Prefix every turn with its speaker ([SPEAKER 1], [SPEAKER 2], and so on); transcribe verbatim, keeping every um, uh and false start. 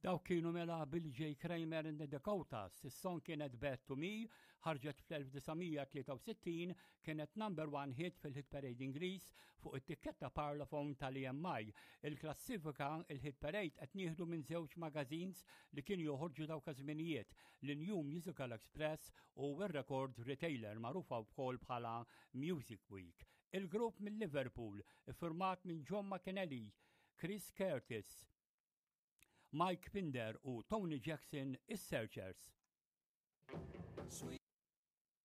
[SPEAKER 1] Dawk kienu mela Billy J. Kramer and the Dakotas. Is-song kienet Bad to Me, ħarġet fl-elf disa' mija tlieta u sittin, kienet number one hit fil-hit parade Ingliż fuq it-tikketta Parlophone tal-E M I. Il-klassifika, il-hit parade, qed nieħdu minn żewġ magazines li kienu joħorġu dawk iż-żminijiet, l-New Musical Express u r-Record Retailer, magħrufa wkoll bħala Music Week. Il-grupp minn Liverpool, iffirmat minn John McAnally, Chris Curtis, Mike Pinder u Tony Jackson, is-Searchers.
[SPEAKER 2] Sweet